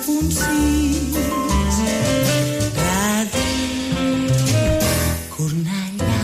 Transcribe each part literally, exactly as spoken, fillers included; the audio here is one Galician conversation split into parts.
puncís Ràdio Cornellà.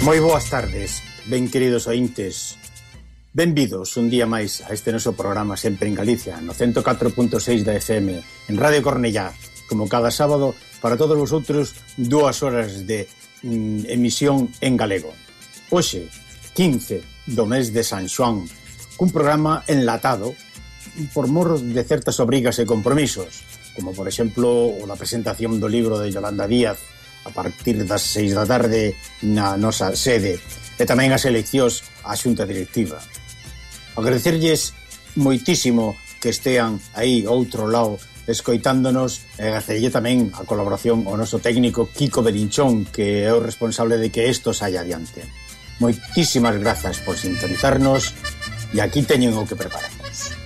Moi boas tardes, ben queridos ointes. Benvidos un día máis a este noso programa sempre en Galicia, no ciento catro punto seis da F M, en Radio Cornellá, como cada sábado, para todos vosotros, dúas horas de mm, emisión en galego. Hoxe, quince do mes de San Xoán, cun programa enlatado por mor de certas obrigas e compromisos, como por exemplo o da presentación do libro de Yolanda Díaz a partir das seis da tarde na nosa sede, e tamén as eleccións á xunta directiva. Agradecerlles moitísimo que estean aí outro lado escoitándonos, e agradecerlle tamén a colaboración ao noso técnico Kiko Belinchón, que é o responsable de que isto saia adiante. Moitísimas grazas por sintonizarnos, e aquí teñen o que preparamos.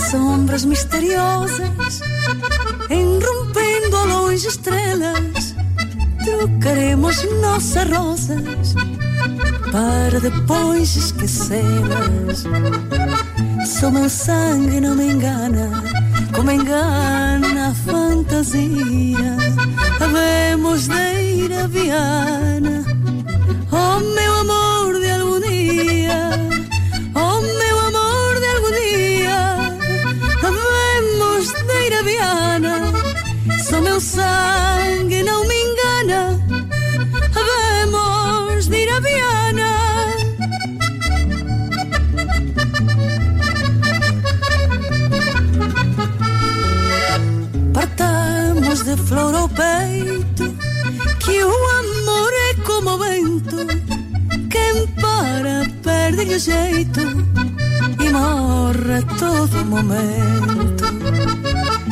Sombras misteriosas, enrompendo a longe estrelas, trocaremos nossas rosas para depois esquecê-las. Só meu sangue não me engana, como engana a fantasia. Havemos de ir a Viana, oh meu amor de algum dia, oh meu amor de algum dia. Havemos de ir a Viana, só meu sangue não me engana. Havemos de ir a Viana. Partamos de flor ao peito, que o amor é como o vento, quem para perde o jeito e morre a todo momento.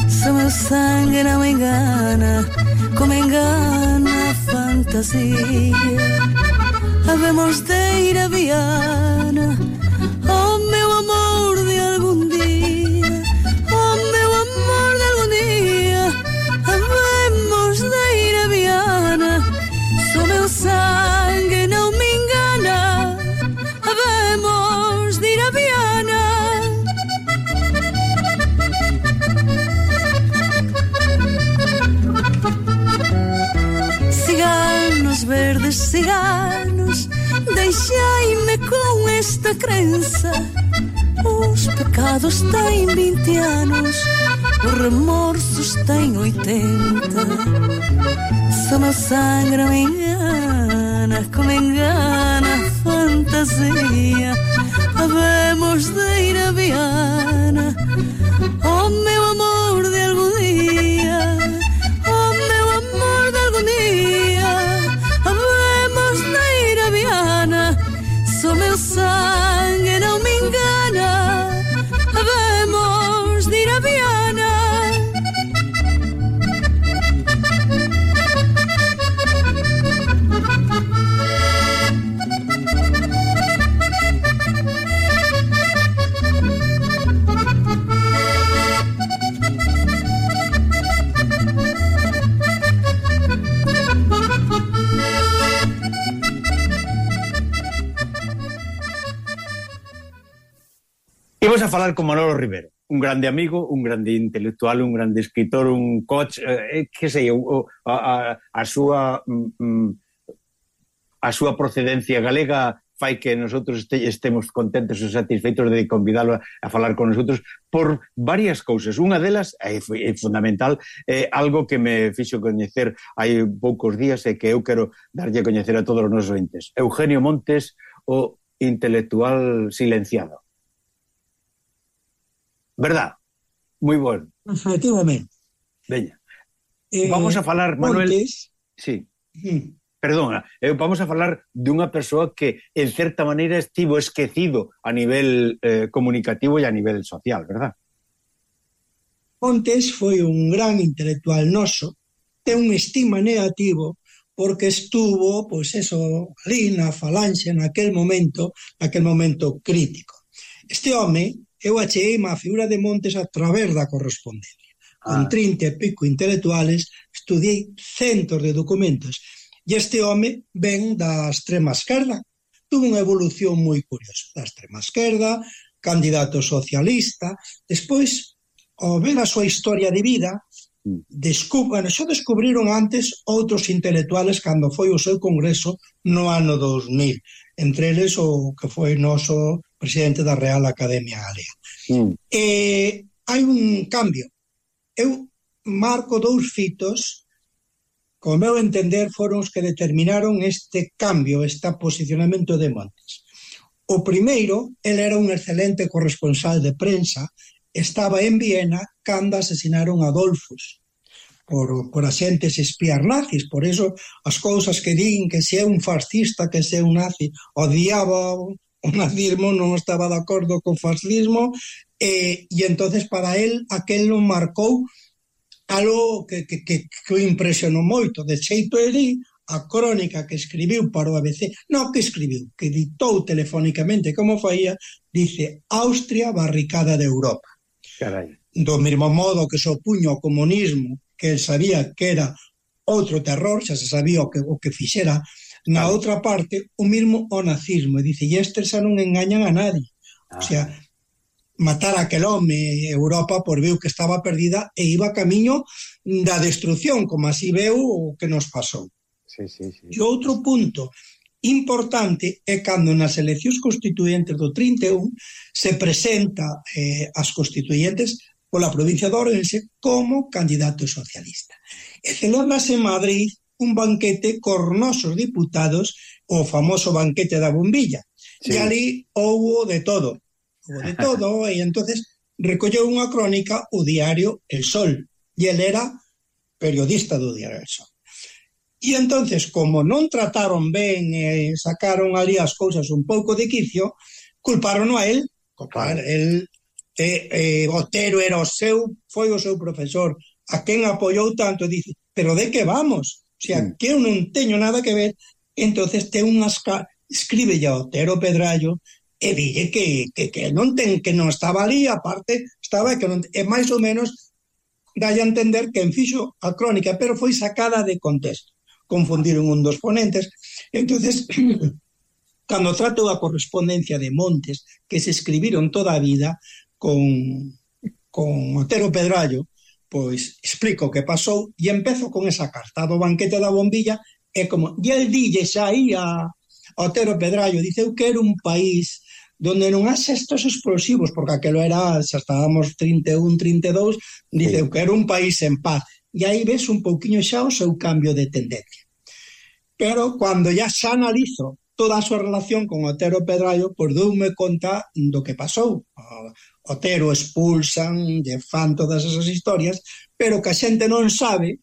Se meu sangue não me engana, como engana a fantasia, havemos de ir a Viana, oh meu amor de algum dia, oh meu amor de algum dia. Havemos de ir a Viana, se meu sangue não me engana, havemos de ir a Viana. Ciganos, verdes ciganos, deixai-me com esta crença. Os pecados têm vinte anos, os remorsos têm oitenta. Se o meu sangue não me engana, como engana a fantasia, havemos de ir a Viana. Oh meu amor de algum dia, oh meu amor de algum dia, havemos de ir a Viana. Se o meu sangue não me engana, havemos de ir a Viana. Imos a falar con Manolo Rivero, un grande amigo, un grande intelectual, un grande escritor, un coach, eh, que sei, o, a, a, a súa mm, a súa procedencia galega fai que nosotros este, estemos contentos e satisfeitos de convidalo a, a falar con nosotros por varias cousas. Unha delas é, é fundamental, é algo que me fixo coñecer hai poucos días e que eu quero darlle a coñecer a todos os nosos ointes. Eugenio Montes, o intelectual silenciado. ¿Verdad? Moi bueno. Efectivamente. Veña. Eh, vamos a falar, Manuel... Montes... Sí. Mm. Perdona, eh, vamos a falar dunha persoa que, en certa maneira, estivo esquecido a nivel eh, comunicativo e a nivel social, verdad? Montes foi un gran intelectual noso, ten un estima negativo porque estuvo, pois eso, ali na falanxe, naquel momento, naquel momento crítico. Este home... Eu acheguei a figura de Montes a través da correspondencia. Con ah. trinta e pico intelectuales, estudiei centos de documentos. E este home ven da extrema esquerda. Tuvo unha evolución moi curiosa. Da extrema esquerda, candidato socialista. Despois, ao ver a súa historia de vida, descub... bueno, xo descubriron antes outros intelectuales cando foi o seu congreso no ano dos mil. Entre eles o que foi noso presidente da Real Academia Galega. Mm. E hai un cambio. Eu marco dous fitos, como meu entender, foron os que determinaron este cambio, este posicionamento de Montes. O primeiro, ele era un excelente corresponsal de prensa, estaba en Viena cando asesinaron a Adolfus por, por axentes espías nazis. Por eso as cousas que din que se é un fascista, que se é un nazi, odiaba o nazismo, non estaba de acordo co fascismo, e, e entonces para él aquel non marcou algo que, que, que, que o impresionou moito. De xeito, ele a crónica que escribiu para o A B C, non que escribiu, que ditou telefónicamente como faía, dice: Austria barricada de Europa. Carai. Do mesmo modo que se opuño ao comunismo, que él sabía que era outro terror, xa se sabía o que, o que fixera. Na claro. Outra parte, o mismo o nazismo. E dice, e estes xa non engañan a nadie. Ah. O sea, matar a aquel home, Europa, por viu que estaba perdida e iba camiño da destrucción, como así veu o que nos pasou. Sí, sí, sí. E outro punto importante é cando nas eleccións constituyentes do trinta e un se presenta eh, as constituyentes pola provincia de Ourense como candidato socialista. E celebrase en Madrid un banquete cos nosos diputados, o famoso banquete da bombilla. Sí. E ali houbo de todo. Houbo de todo, e entonces recolleu unha crónica o diario El Sol. E ele era periodista do diario El Sol. E entonces, como non trataron ben e sacaron ali as cousas un pouco de quicio, culparon a él. Claro, el, eh, eh, Otero era o seu, foi o seu profesor, a quen apoiou tanto, dice, pero de que vamos? O sea, mm. que eu non teño nada que ver. Entonces ten unhas... escribe a Otero Pedrallo e dille que, que, que non ten, que non estaba ali, aparte estaba que non, e máis ou menos dalle a entender que en fixo a crónica, pero foi sacada de contexto. Confundiron un dos ponentes. Entonces, cando trato a correspondencia de Montes, que se escribiron toda a vida con, con Otero Pedrallo, pois explico o que pasou e empezo con esa carta do banquete da bombilla. É como, e el dille xa aí a Otero Pedrallo, dice, eu quero un país donde non haxe estos explosivos, porque aquelo era, xa estábamos trinta e un, trinta e dous, dice sí. que era un país en paz, e aí ves un pouquiño xa o seu cambio de tendencia. Pero cando ya xa analizo toda a súa relación con Otero Pedrallo, pois doume conta do que pasou. Otero expulsan, lle fan todas esas historias, pero que a xente non sabe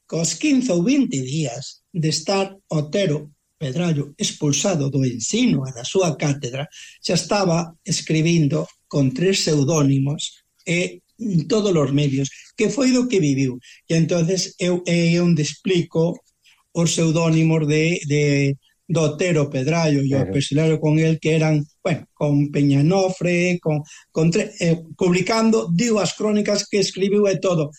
que aos quince ou vinte días de estar Otero Pedrallo expulsado do ensino e da súa cátedra, xa estaba escribindo con tres pseudónimos e en todos os medios, que foi do que viviu. E entonces eu é onde explico os pseudónimos de, de, de Otero Pedrallo e o pesilario con el, que eran, bueno, con Peñanofre, con, con eh, publicando, digo, as crónicas que escribiu e todo.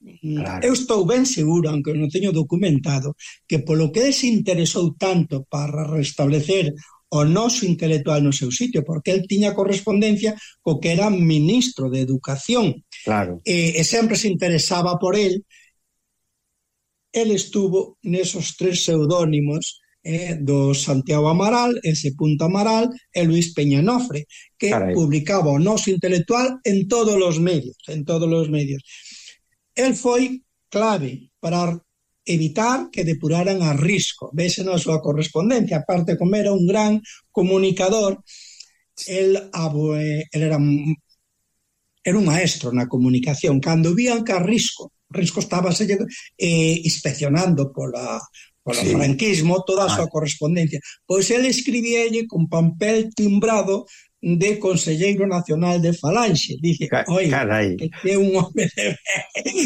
Claro. Eu estou ben seguro, aunque non teño documentado, que polo que se interesou tanto para restablecer o noso intelectual no seu sitio, porque el tiña correspondencia co que era ministro de Educación, claro. e, e sempre se interesaba por el. El estuvo nesos tres pseudónimos eh, do Santiago Amaral, ese Punto Amaral e Luis Peñanofre, que Carai. publicaba o noso intelectual en todos os medios, en todos os medios. El foi clave para evitar que depuraran a Risco. Vese na súa correspondencia, aparte como era un gran comunicador, el, el era, era un maestro na comunicación. Cando vían que a Risco, Risco estaba eh, inspeccionando pola, pola sí. franquismo toda a súa ah. correspondencia, pois el escribíalle con papel timbrado de Conselleiro Nacional de Falanxe. Dice, oi, que é un home de...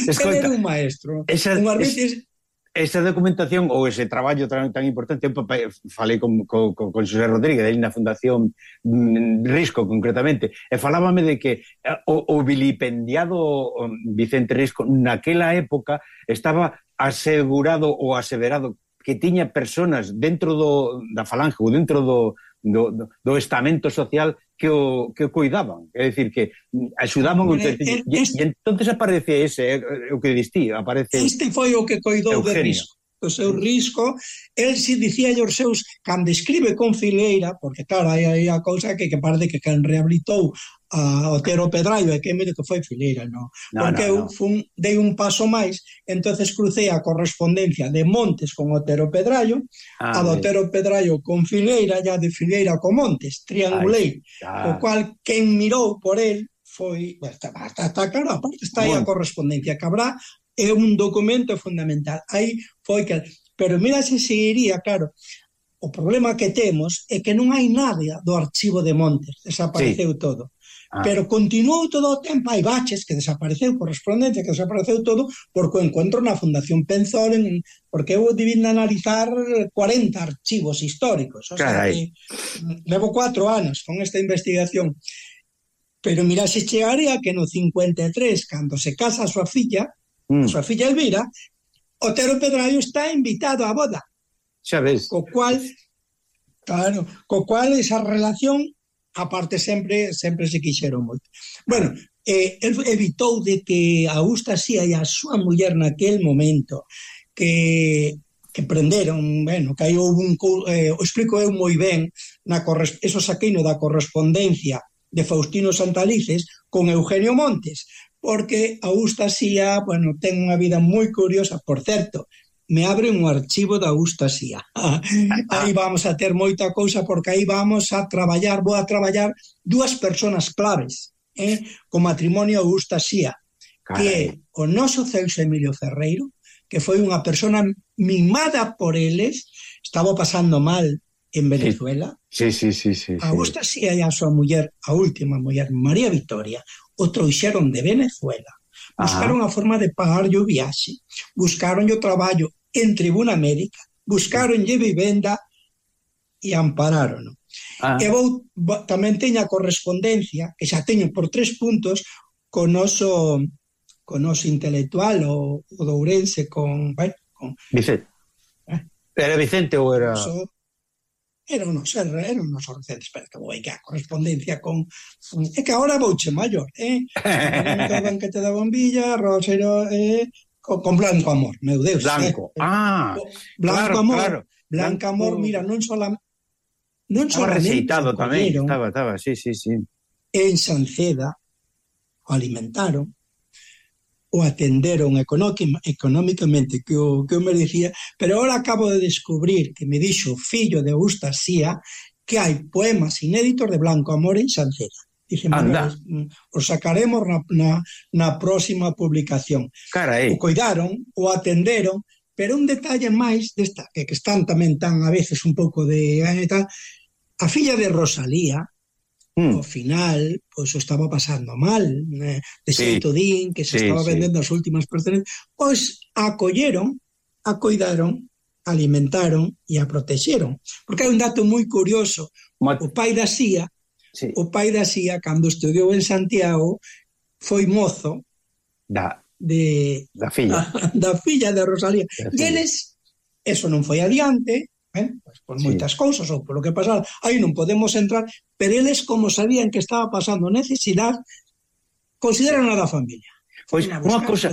Escolta, era un maestro. Esa, unhas veces... esa documentación ou ese traballo tan, tan importante, eu falei con, con, con Xosé Rodríguez na Fundación Risco concretamente, e falábame de que o, o vilipendiado Vicente Risco naquela época estaba asegurado ou aseverado que tiña personas dentro do, da Falange ou dentro do Do, do, do estamento social que o, que o cuidaban, é dicir, que axudaban o e, e entonces aparece ese, o que distí, aparece este foi o que coidou de Risco, o seu Risco. El si dicía aos seus, cando escribe con Fileira, porque claro, hai, hai a cousa que, que parece que quen rehabilitou a Otero Pedrallo e que medio que foi Fileira, no? no porque no, eu fun, dei un paso máis, entonces crucei a correspondencia de Montes con Otero Pedrallo, ah, a de Otero Pedrallo con Fileira, e a de Fileira con Montes, triangulei, o cual quen mirou por el foi, está, está, está claro, aparte está aí bueno. a correspondencia que habrá, é un documento fundamental, aí foi que, pero mira se seguiría, claro, o problema que temos é que non hai nada do archivo de Montes, desapareceu sí. todo. Ah. Pero continuou todo o tempo, hai baches que desapareceu, correspondencia que desapareceu todo, porque o encontro na Fundación Penzol, en, porque eu divino analizar cuarenta archivos históricos, o sea que levo cuatro anos con esta investigación. Pero mira, se chegaría que no cincuenta e tres, cando se casa a súa filla, mm. a súa filla Elvira, Otero Pedrallo está invitado á boda. Xa ves. Co cual, claro, co cual esa relación aparte sempre sempre se quixeron moito. Bueno, eh, el evitou de que Augusta Sía e a súa muller naquel momento que que prenderon, bueno, que aí houve un eh, o explico eu moi ben, na eso saqueino da correspondencia de Faustino Santalices con Eugenio Montes, porque Augusta Sía, bueno, ten unha vida moi curiosa, por certo, me abre un archivo da Augusta Sía. Aí vamos a ter moita cousa, porque aí vamos a traballar, vou a traballar dúas persoas claves, eh, co matrimonio Augusta Sía, que é o noso Celso Emilio Ferreiro, que foi unha persona mimada por eles, estaba pasando mal en Venezuela. Sí, sí, sí, sí, sí. Augusta Sía e a súa muller, a última muller, María Victoria, o trouxeron de Venezuela. Buscaron Ajá. a forma de pagar o viaxe, buscaron o traballo en Tribuna América, buscaron lle vivenda e ampararon. Ah. E vou, tamén teño a correspondencia, que xa teño por tres puntos, con noso, con noso intelectual, o, o de Ourense, con... Bueno, con Vicente. Eh? Era Vicente ou era... Noso, era un noso, era un noso recente, espera que vou aí que a correspondencia con... É que agora vouche maior, eh? O banquete da bombilla, Rosero... Eh, con Blanco Amor, meu Deus. Blanco, eh. ah, Blanco claro, Amor, claro. Blanco Amor, mira, non solamente non estaba receitado tamén, acolleron, estaba, estaba, sí, sí, sí. En Sanceda o alimentaron, o atenderon económicamente que o, que o merecía, pero ahora acabo de descubrir que me dixo o fillo de Augusta Sía que hai poemas inéditos de Blanco Amor en Sanceda. Dixe, Manuel, os sacaremos na, na, na próxima publicación. Carai. O cuidaron, o atenderon, pero un detalle máis desta, que, que están tamén tan a veces un pouco de... Eh, tal, a filla de Rosalía, ao final, pois o estaba pasando mal, eh, de xeito sí, din, que se sí, estaba vendendo sí. As últimas pertenencias, pois a acolleron, a cuidaron, alimentaron e a protexeron. Porque hai un dato moi curioso, Mat... o pai da Sía, sí. o pai da Sía, cando estudiou en Santiago, foi mozo da, de, da filla da, da filla de Rosalía. E eles, eso non foi adiante, Eh? Pues por moitas sí. cousas ou polo que pasaba, aí non podemos entrar, pero eles como sabían que estaba pasando necesidade, consideran a da familia. Pois pues, unha cousa,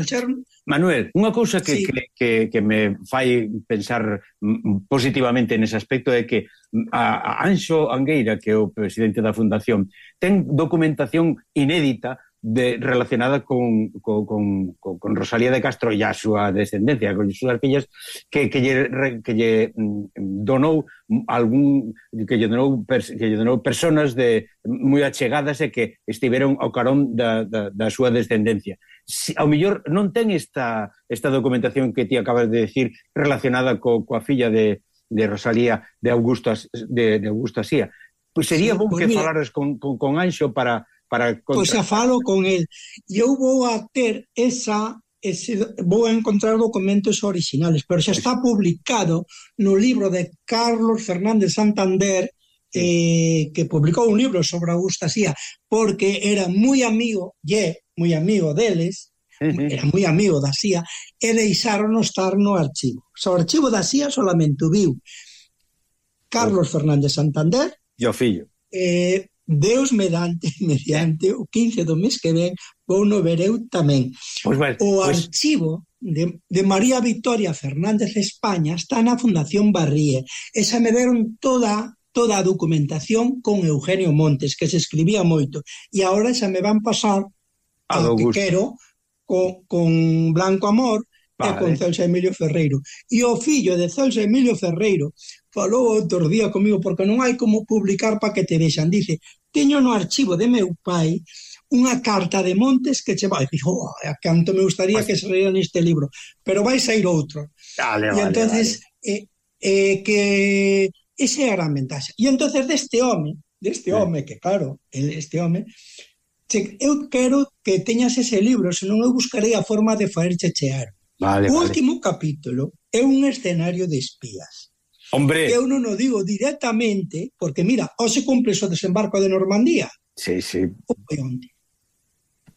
Manuel, unha cousa que, sí. que, que, que me fai pensar positivamente nese aspecto é que a, a Anxo Angueira, que é o presidente da Fundación, ten documentación inédita de, relacionada con, con, con, con Rosalía de Castro e a súa descendencia, con as súas fillas, que, que, lle, que lle donou algún que lle donou, que lle donou personas de moi achegadas e que estiveron ao carón da, da, da súa descendencia. Si, ao mellor non ten esta, esta documentación que ti acabas de decir relacionada co, coa filla de, de Rosalía de Augusta, de, de Augusta Sía. Pois sería sí, bom pues que mira, falares con, con, con Anxo para... Para contra... Pois xa falo con el. E eu vou a ter esa, ese, vou a encontrar documentos originales, pero xa está publicado no libro de Carlos Fernández Santander, eh, que publicou un libro sobre Augusta Sía, porque era moi amigo, e moi amigo deles, uh-huh. era moi amigo da Sía, e deixaron estar no archivo. O archivo da Sía solamente viu Carlos oh. Fernández Santander e o fillo. Eh, Deus mediante, mediante o quince do mes que ven vou no ver eu tamén. Pues bueno, o pues... archivo de, de María Victoria Fernández España está na Fundación Barríe. Esa me deron toda toda a documentación con Eugenio Montes, que se escribía moito, e agora xa me van pasar a, a que quero con, con Blanco Amor vale. E con Celso Emilio Ferreiro. E o fillo de Celso Emilio Ferreiro falou outro día comigo, porque non hai como publicar para que te vexan. Dice, teño no archivo de meu pai unha carta de Montes que che vai. Dixo, oh, canto me gustaría pues... que se leera neste libro, pero vai sair outro. Dale, e vale, entonces vale. Eh, eh, que ese era a ventaxa. E entonces deste home, deste home, que claro, este home, che, eu quero que teñas ese libro, senón eu buscarei a forma de faerche chear. Vale, o vale. último capítulo é un escenario de espías. Hombre. Eu non o digo directamente, porque mira, hoxe cumpre o desembarco de Normandía. Sí, sí. Foi onte.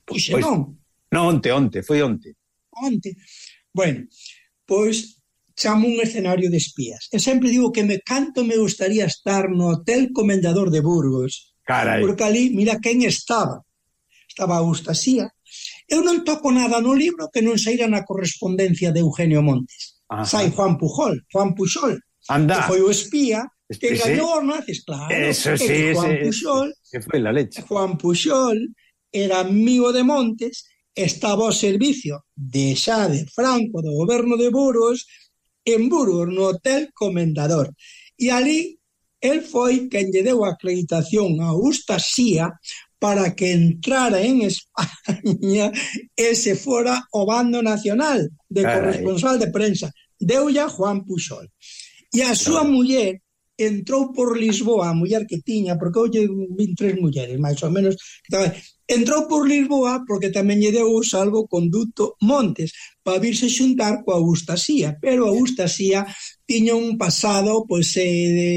Pois pois, non. Non, onte, onte, foi onte. Onte. Bueno, pois chamo un escenario de espías. E sempre digo que me canto me gustaría estar no Hotel Comendador de Burgos. Carai. Porque ali, mira quen estaba. Estaba Augusta Sía. Eu non toco nada no libro que non saíra na correspondencia de Eugenio Montes. Ajá. Sai Juan Pujol, Juan Pujol. Anda. Que foi o espía que sí. gañou os nazis, claro. Eso sí, Juan sí, Pujol, que foi la leche. Juan Pujol era amigo de Montes, estaba ao servicio de xa de Franco, do goberno de Burgos, en Burgos, no Hotel Comendador. E ali, el foi quen lle deu a acreditación a Augusta Sía para que entrara en España e se fora o bando nacional de corresponsal de prensa. Deulle a Juan Pujol. E a súa muller entrou por Lisboa, a muller que tiña, porque hoxe vin tres mulleres, máis ou menos, entrou por Lisboa porque tamén lle deu o salvoconduto Montes para virse xuntar coa Augusta Sía, pero a Augusta Sía tiña un pasado, pois, eh, de...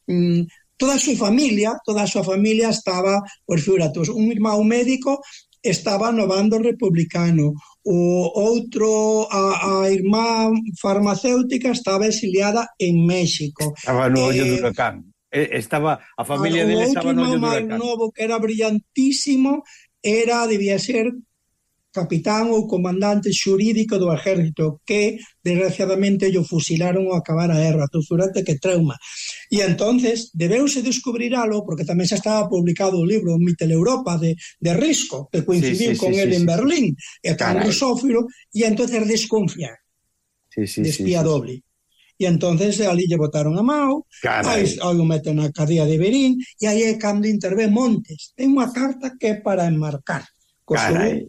Mm, toda a súa familia, toda a súa familia estaba, por figuratos, un irmão médico estaba no bando republicano, o outro, a, a irmá farmacéutica estaba exiliada en México. Estaba no ollo eh, do huracán. Estaba, a familia dele estaba no ollo do huracán. O outro irmão máis novo, que era brillantísimo, era, debía ser capitán ou comandante xurídico do exército que desgraciadamente yo fusilaron ao acabar a guerra. Tu furate que trauma. E entonces debeuse descubriralo porque tamén xa estaba publicado o libro Mitel Europa de, de Risco, que coincidiu sí, sí, con sí, él sí, en sí. Berlín, e tan rusófilo, e entonces desconfiar sí, sí, de espía sí, sí, doble. E entonces ali lle botaron a Mao, aí o meten na cadea de Berín, e aí é cando intervé Montes. Ten unha carta que é para enmarcar. Carai.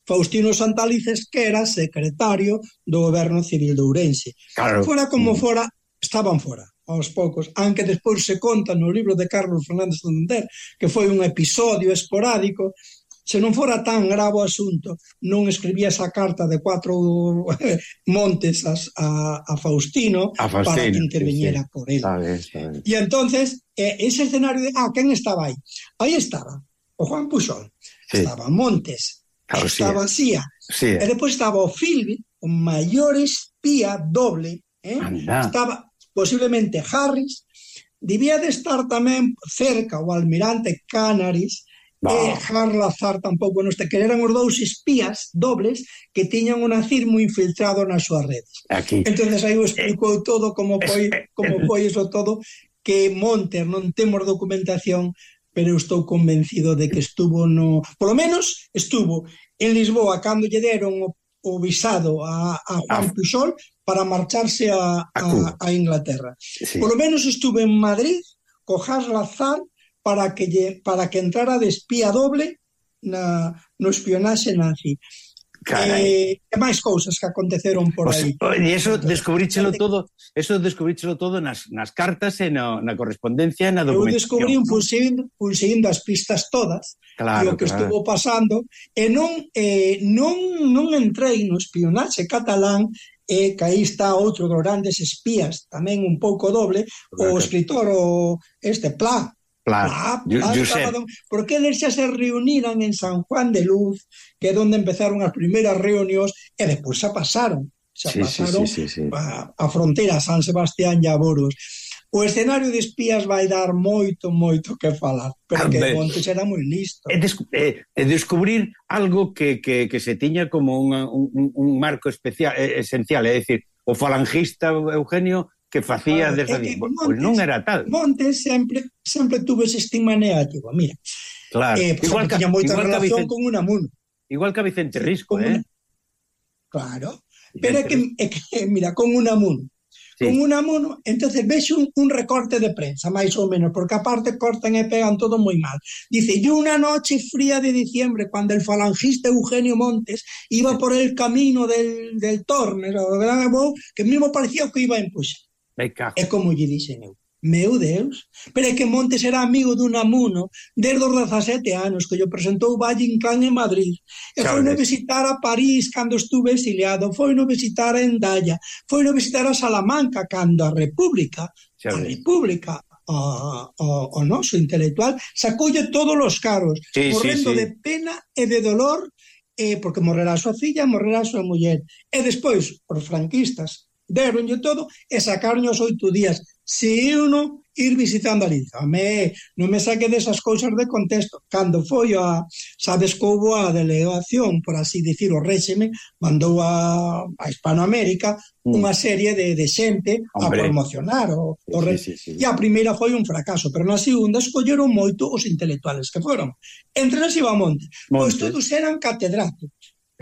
Faustino Santalices, que era secretario do goberno civil de Ourense. Claro. Fora como fora, estaban fora, aos poucos, aunque despois se conta no libro de Carlos Fernández Santander que foi un episodio esporádico. Se non fora tan grave o asunto, non escribía esa carta de cuatro Montes a, a Faustino, a Faustino para que interveniera sí, sí. por él. Sabe, sabe. E entonces, eh, ese escenario de, ah, quen estaba aí? Aí estaba o Juan Pujol, sí. estaba Montes, claro, estaba sí. Cía, sí. e depois estaba o Philby, o maior espía doble, eh? estaba posiblemente Harris, debía de estar tamén cerca o almirante Canaris, no. e Harlazar tampouco non este, que eran os dous espías dobles que tiñan un nazismo infiltrado nas súas redes. Aquí. Entonces aí o explicou eh, todo como foi, como foi eso todo, que Montes non temos documentación, pero eu estou convencido de que estuvo no... Polo menos estuvo en Lisboa cando lle deron o, o visado a, a Juan ah. Pujol para marcharse a, a, a Inglaterra. Sí. Polo menos estuvo en Madrid co Harlazar para que, lle, para que entrara de espía doble na, no espionaxe nazi. Eh, e máis cousas que aconteceron por aí. O sea, e eso descubríchelo todo, eso descubríchelo todo nas, nas cartas e no, na correspondencia e na documentación. Eu descubrí un pulseindo, pulseindo as pistas todas, claro, e o que claro. estuvo pasando, e non, eh, non, non entrei no espionaxe catalán, e que aí está outro dos grandes espías, tamén un pouco doble, claro. o escritor, o este Pla, Pla, Pla, Pla porque eles xa se reuniran en San Juan de Luz, que é onde empezaron as primeiras reunións, e despois xa pasaron xa sí, pasaron sí, sí, sí, sí. A, a fronteira San Sebastián e a Boros. O escenario de espías vai dar moito, moito que falar, pero que Montes era moi listo. É, des, é, é descubrir algo que, que, que se tiña como un, un, un marco especial, esencial, é dicir, o falangista Eugenio que facía claro, desde ali, pois non era tal. Montes sempre sempre tuvo ese estigma negativo, mira. Claro. Eh, igual que tiña moita relación Vicente, con Unamuno. Igual que a Vicente Risco, sí, eh? Claro. Pero é que, é que, mira, con Unamuno. Sí. Con Unamuno, entonces ves un, un recorte de prensa, máis ou menos, porque aparte cortan e pegan todo moi mal. Dice, y una noche fría de diciembre, cuando el falangista Eugenio Montes iba sí. por el camino del, del Tormes, que mismo parecía que iba a empuxar. É como lle dixen eu, meu Deus, pero é que Montes era amigo de Unamuno desde os dezasete anos, que lle presentou Valle Inclán en Madrid, e foi no visitar a París cando estuve exiliado, foi no visitar a Endaya, foi no visitar a Salamanca cando a República, a República, o, o, o noso intelectual, sacoulle todos os cargos, sí, morrendo sí, sí. de pena e de dolor, eh, porque morrerá a súa filla, morrerá a súa muller, e despois, os franquistas, deronlle todo e sacaron os oito días. Se uno ir visitando ali,ame, non me saque desas cousas de contexto. Cando foi a, sabes que houve a delegación, por así dicir, o réxime, mandou a, a Hispanoamérica mm. unha serie de, de xente Hombre. a promocionar o, o sí, sí, sí. E a primeira foi un fracaso, pero na segunda escolleron moito os intelectuales que foron. Entre eles iba Montes, pois todos eran catedráticos.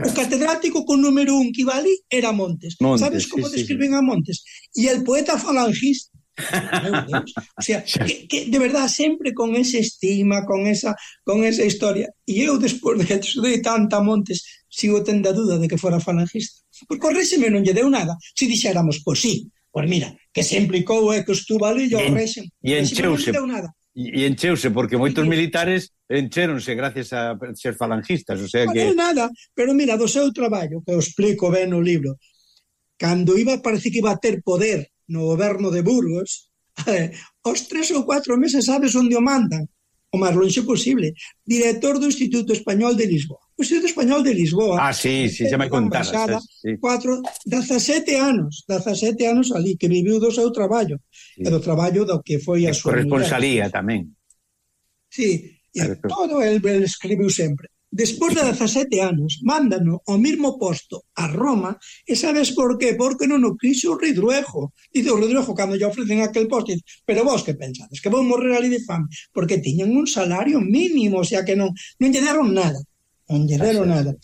O catedrático con número un que iba ali era Montes. Montes ¿Sabes como sí, describen sí. a Montes? Y el poeta falangista. O sea, que, que de verdad sempre con ese estigma, con esa con esa historia. E eu despois de que estudei tanta Montes sigo tendo a duda de que fora falangista. Porque o réxime non lle deu nada. Se dixéramos, pois sí, pois mira, que se implicou é que estuvo ali e o réxime. E encheuse. Non lle deu nada. E encheuse, porque moitos militares enchéronse gracias a ser falangistas, o sea que... Non nada, pero mira, do seu traballo, que eu explico ben no libro, cando iba, parece que iba a ter poder no goberno de Burgos, eh, os tres ou cuatro meses sabes onde o mandan, o máis longe posible, director do Instituto Español de Lisboa. O Instituto Español de Lisboa... Ah, sí, sí, xa me contaras. Sí. Cuatro, dezasete anos, dezasete anos ali, que viviu do seu traballo, sí. e do traballo do que foi a súa... Corresponsalía tamén. Sí, e todo el, el escribiu sempre. despois de dezasete anos, mándano ao mesmo posto a Roma, e sabes por qué? Porque non o quixo o Ridruejo. Dice o Ridruejo, cando lle ofrecen aquel posto, dice, pero vos que pensades, que vou morrer ali de fame? Porque tiñan un salario mínimo, o sea que non, non lle deron nada, non lle deron nada.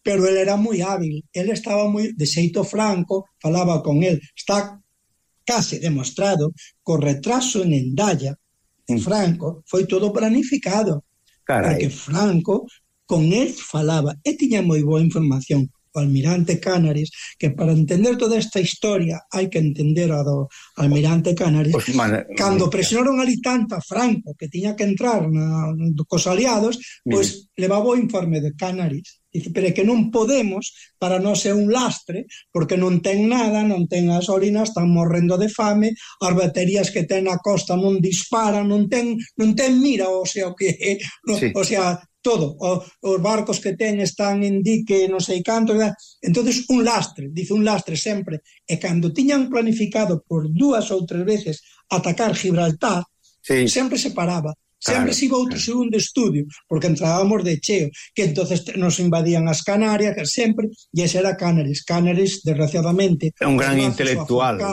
Pero ele era moi hábil, ele estaba moi, de xeito franco, falaba con el, está case demostrado que o retraso en Endaya, en Franco, foi todo planificado. Carai. Porque Franco con el falaba e tiña moi boa información. O almirante Canaris, que para entender toda esta historia hai que entender a do almirante Canaris, pues, man, cando presionaron ali tanto a Franco que tiña que entrar na, cos aliados, pois pues, levaba o informe de Canaris. Dice, pero é que non podemos, para non ser un lastre, porque non ten nada, non ten gasolina, están morrendo de fame, as baterías que ten na costa non disparan, non ten, non ten mira, o sea, o que, no, sí. o sea, todo, o, os barcos que ten están en dique, non sei canto, entonces un lastre, dice un lastre sempre, e cando tiñan planificado por dúas ou tres veces atacar Gibraltar, sí. sempre se paraba, sempre claro, se iba outro claro. segundo estudio, porque entrábamos de cheo, que entonces nos invadían as Canarias, sempre, e ese era Canaris, Canaris, desgraciadamente, un gran intelectual.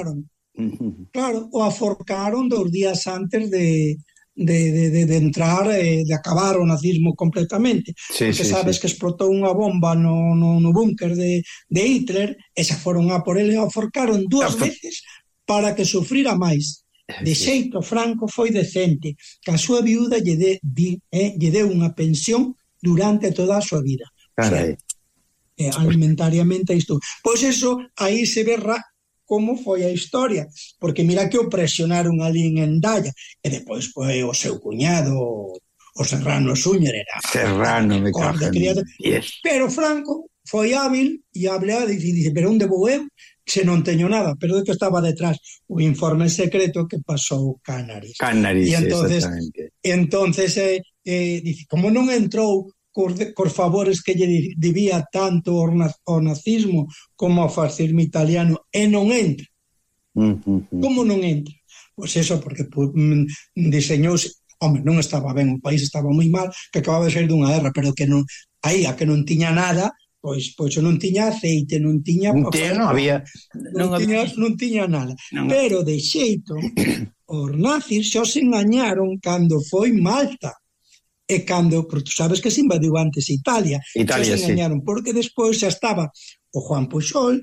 Uh-huh. Claro, o aforcaron dos días antes de... De, de, de, de entrar, eh, de acabar o nazismo completamente, sí, porque sí, sabes sí. que explotou unha bomba no, no, no búnker de, de Hitler, e xa foron a por ele e o forcaron dúas Hasta... veces para que sufrira máis. De xeito Franco foi decente, que a súa viúda lle, de, di, eh, lle deu unha pensión durante toda a súa vida. O sea, eh, alimentariamente isto. Pois eso, aí se ve ra- como foi a historia, porque mira que o presionaron ali en Endaya, e depois foi o seu cuñado, o Serrano Súñer, era Serrano, me cago en diez. Pero Franco foi hábil e hablea, e dice, pero onde vou eu? Se non teño nada, pero de que estaba detrás o informe secreto que pasou Canaris. Canaris, e entonces, exactamente. Entonces, eh, eh, dice, como non entrou cos, de, cos favores que lle debía tanto o, o nazismo como o fascismo italiano, e non entra. Uh-huh. Como non entra? Pois eso, porque pues, diseñouse, home, non estaba ben, o país estaba moi mal, que acababa de sair dunha guerra, pero que non, aí a que non tiña nada, pois pois non tiña aceite, non tiña non, tiña, non había non, non, tiña, non tiña nada, non, pero de xeito os nazis xo se engañaron cando foi Malta. E cando, porque tú sabes que se invadiu antes Italia, Italia se engañaron, sí. porque despois xa estaba o Juan Pujol,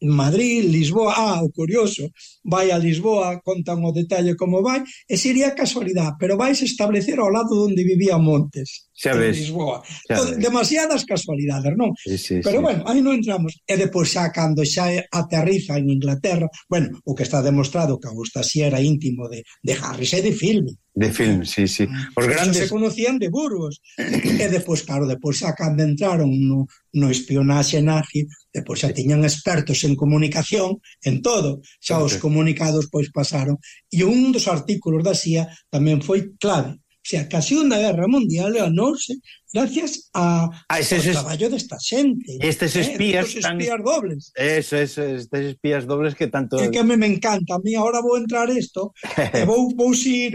en Madrid, Lisboa, ah, o curioso, vai a Lisboa, contan o detalle como vai, e sería casualidade, pero vais establecer ao lado onde vivía Montes, xa en ves, Lisboa. Xa Todo, ves. Demasiadas casualidades, non? Sí, sí, pero sí. bueno, aí non entramos. E depois xa, cando xa aterriza en Inglaterra, bueno, o que está demostrado que Augusta sí era íntimo de, de Harris e de Filme. De film, sí, sí. Os grandes se conocían de Burgos. E depois, claro, depois xa cando entraron no, no espionaxe nazi, depois xa tiñan expertos en comunicación, en todo. Xa os comunicados pois pasaron. E un dos artículos da C I A tamén foi clave. O sea, que a Segunda Guerra Mundial ganóuse gracias a, ah, ese, ao ese, traballo desta xente. Estes espías, eh, espías tan... dobles. Eso, eso, estes espías dobles que tanto... É que a mí me encanta. A mí ahora vou entrar isto e vou, vou ir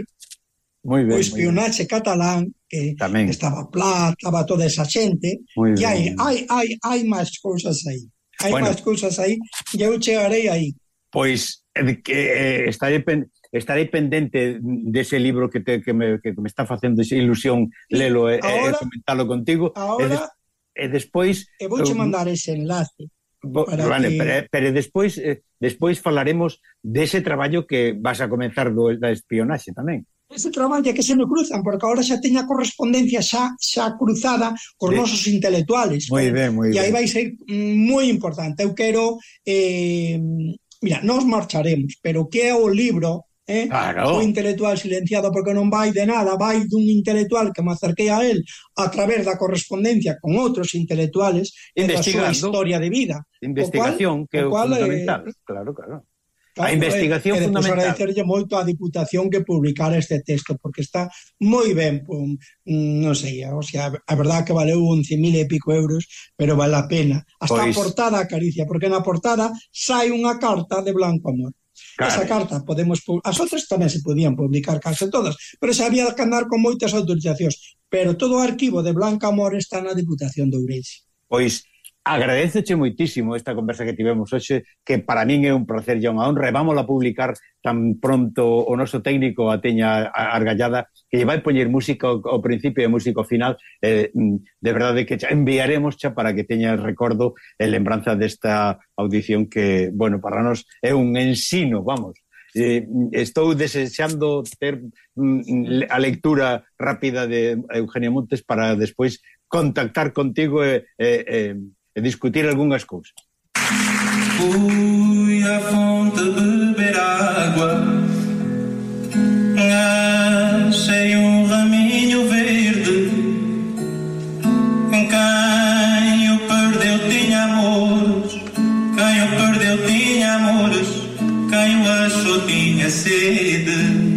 Muy ben, o espionaxe catalán, que tamén estaba Pla, estaba toda esa xente, e hai, hai, hai, hai máis cousas aí. Hai bueno, máis cousas aí, e eu chegarei aí. Pois, eh, que, eh, estarei, pen, estarei pendente dese libro que, te, que, me, que me está facendo ilusión lelo e eh, eh, comentalo contigo. Ahora, e, de, e despois... E vouche mandar ese enlace. Vale, que... pero, pero despois, eh, despois falaremos dese traballo que vas a comenzar do, da espionaxe tamén. Ese traballo que se me cruzan, porque agora xa teña correspondencia xa, xa cruzada cos sí. nosos intelectuales. Moi ben, moi ben. E aí vai ser moi importante. Eu quero... Eh, mira, nós marcharemos, pero que é o libro... Eh? Claro. O intelectual silenciado, porque non vai de nada, vai dun intelectual que me acerquei a él a través da correspondencia con outros intelectuales e da súa historia de vida. Investigación, cual, que é o fundamental. Eh, claro, claro. Claro, a investigación eh, fundamental. E agradecerlle moito á Diputación que publicara este texto, porque está moi ben, pum, non sei, o sea, a verdade que valeu once mil e pico euros, pero vale a pena. Hasta pois... a portada acaricia, porque na portada sai unha carta de Blanco Amor. Claro. Esa carta podemos... As outras tamén se podían publicar case todas, pero se había que andar con moitas autorizacións. Pero todo o arquivo de Blanca Amor está na Diputación de Ourense. Pois agradeceche moitísimo esta conversa que tivemos hoxe, que para min é un placer e unha honra, e vamos a publicar tan pronto o noso técnico a teña argallada, que lle vai poñer música ao principio e música ao final, eh, de verdade que enviaremos xa para que teña recordo e lembranza desta audición que, bueno, para nós é un ensino, vamos. Eh, estou desexando ter mm, a lectura rápida de Eugenio Montes para despois contactar contigo e, e, e, e discutir algunhas cousas. Fui à fonte beber água, achei um raminho verde, quem o perdeu tinha amores, quem o perdeu tinha amores, quem o achou tinha sede.